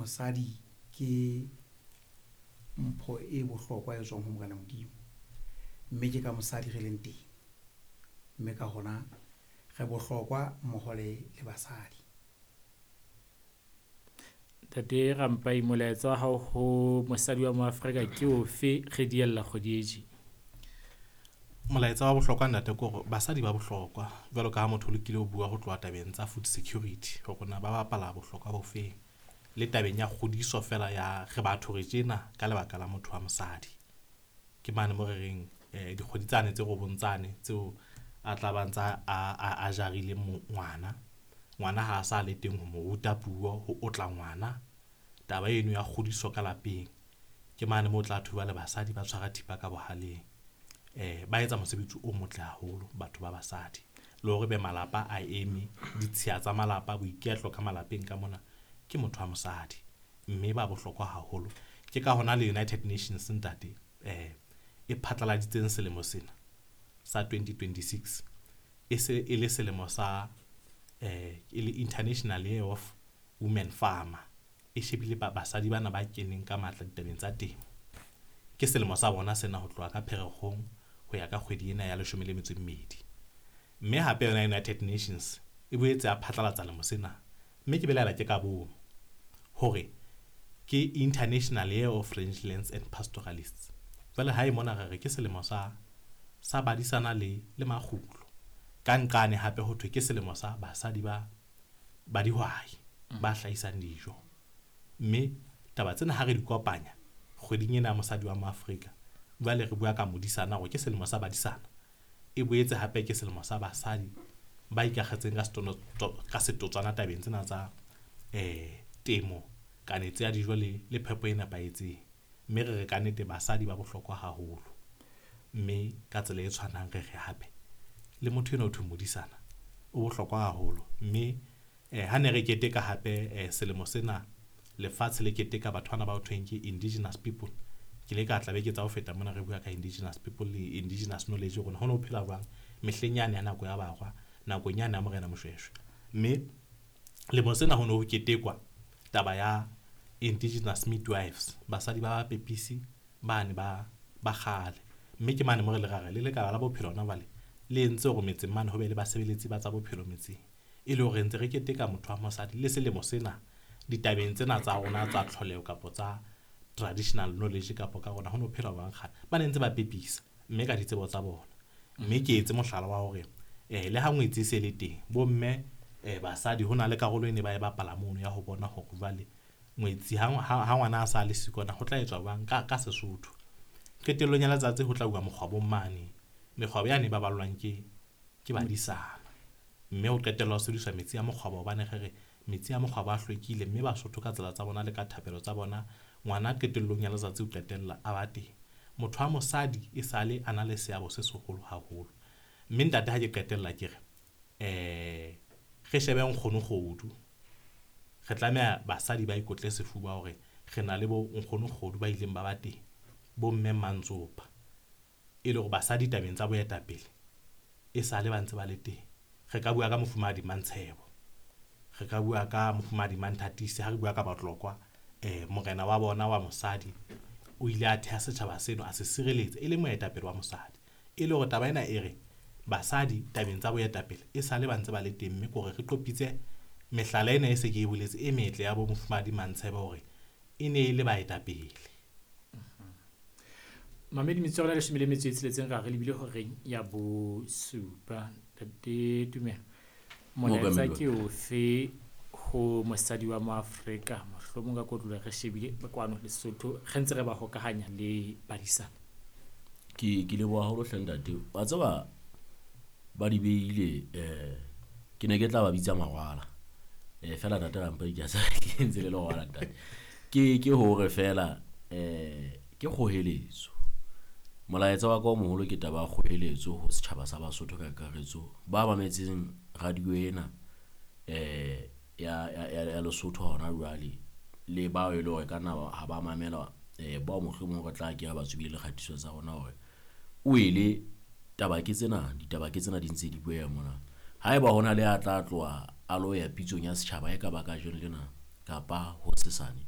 Mosadi ke mpho e bohlokwa e tswang ho Morena Modimo. Mme ke ka mosadi re leng teng. Mme ka hona re bohlokwa mmoho le le basadi. Ntate Rampai, molaetsa wa hao ho mosadi wa Moafrika ke ofe re diella kgwedi e tje? Molaetsa wa bohlokwa ntate ke hore basadi ba bohlokwa jwalo ka ha motho o lokile ho bua ho tloha tabeng tsa food security hore na ba bapala bohlokwa bo feng. Le tabeng ya kgodiso feela ya re batho re tjena ka lebaka la motho wa mosadi. Ke mane mo re reng dikgwedi tsane tse robong tsane tseo a tla ba ntsa a jarile ngwana. Ngwana ha a sa le teng ho mo ruta puo, ho otla ngwana. Taba eno ya kgodiso ka lapeng. Ke mane moo o tla thuba le basadi ba tshwara thipa ka bohaleng. Ba etsa mosebetsi o motle haholo batho ba basadi. Le hore be malapa a eme, ditshiya tsa malapa, boiketlo ka malapeng ka mona ke motho wa mosadi. Mme ba bohlokwa haholo. Ke ka hona le United Nations ntate e phatlaladitseng selemo sena sa 2026 e se e le selemo sa e le International Year of Women Farmer. E shebile basadi bana ba keneng ka matla ditabeng tsa temo. Ke selemo sa bona sena ho tloha ka Pherekgong ho ya ka kgwedi ena ya 12. Mme hape yona United Nations e boetse ya phatlalatsa lemo sena. Mme ke belaela ke ka bomo hore ke International Year of Rangelands and Pastoralists. Jwale hae mona re re ke selemo sa badisana le makgulo. Ka nqane hape ho thwe ke selemo sa basadi ba dihwai ba hlahisang dijo. Mme taba tsena ha re di kopanya kgweding ena ya mosadi wa Moafrika, jwale re bua ka modisana hore ke selemo sa badisana. E boetse hape ke selemo sa basadi ba ikakgetseng ka setotswana tabeng tsena tsa temo, kanetso ya dijo le phepo e nepahetseng. Mme re re kannete basadi ba bohlokwa haholo. Mme ka tsela e tshwanang re re hape le motho enwa ho thwe modisana o bohlokwa haholo. Mme ha ne re keteka hape selemo sena lefatshe le keteka batho bana ba ho thweng ke indigenous people. Ke ile ka tla beke tsa ho feta mona re bua ka indigenous people le indigenous knowledge hore ho no phela jwang mehleng yane ya nako ya barwa, nakong yane ya Morena Moshweshwe. Mme lemo sena ho no ho ketekwa taba ya indigenous midwives, basadi ba bapepisi bane ba kgale. Mme ke mane mo re le ra re le lekala la bophelo hona jwale le entse hore metseng mane ho be le basebeletsi ba tsa bophelo metseng. E le hore ntse re keteka motho wa mosadi le selemo sena ditabeng tsena tsa rona tsa tlholeho kapa tsa traditional knowledge kapa ka rona ho no phela jwang kgale. Ba ne ntse ba pepisa mme ka ditsebo tsa bona. Mme ke etse mohlala wa hore le ha ngwetsi e se le teng, bomme basadi ho na le karolo e ne ba e bapala mono ya ho bona hore jwale ngwetsi ha ngwana a sa le siko na ho tla etswa jwang ka Sesotho. Qetellong ya letsatsi ho tla uwa mokgwabong mane. Mekgwabo yane e baballwang ke badisana. Mme ho qetella ho sebediswa metsi a mokgwabo hobane re re metsi a mokgwabo a hlwekile mme Basotho ka tsela tsa bona le ka thapelo tsa bona ngwana qetellong ya letsatsi o qetella a ba teng. Motho wa mosadi e sale a na le seabo se seholo haholo. Mme ntate ha ke qetella ke re re shebe nkgono kgodu. Re tlameha basadi ba ikotle sefuba hore re na le bo nkgono kgodu ba ileng ba ba teng, bo mme Mantsopa. E le hore basadi tabeng tsa boetapele e sale ba ntse ba le teng. Re ka bua ka Mofumahadi Mantshebo, re ka bua ka Mofumahadi Manthatisi, ha re bua ka Batlokwa, morena wa bona wa mosadi o ile a theha setjhaba seno a se sireletsa e le moetapele wa mosadi. E le hore taba ena e re basadi tabeng tsa boetapele e sale ba ntse ba le teng, mme ke hore re qopitse mehlala ena e se ke e boletse e metle ya bo Mofumahadi Mantshebo hore e ne e le baetapele. Mamedi metsotso ya 16 ra re lebile horeng ya bosupa. Ntate Tumelo, molaetsa ke ofe ho mosadi wa Moafrika mohlomong ka kotlolo re shebile kwano Lesotho re ntse re ba hokahanya le badisana? Ke leboha haholo hle ntate. Wa tseba ba di beile ke ne ke tla ba bitsa mawala. Fela ntate Rampai ke a tseba ke ntse le lewala ntate. Ke hore fela ke kgoheletso. Molaetsa wa ka o moholo ke taba ya kgoheletso ho setjhaba sa Basotho ka kakaretso ba mametseng radio ena ya Lesotho hona jwale le bao e le hore ka nna ha ba mamela bao mohlomong re tla ke ba tsubile le kgatiso tsa rona hore o ele taba ke tsena, ditaba ke tsena di ntse di bueha mona. Haeba hona le a tla tloha a lo ya pitsong ya setjhaba e ka ba kajeno lena kapa hosesane,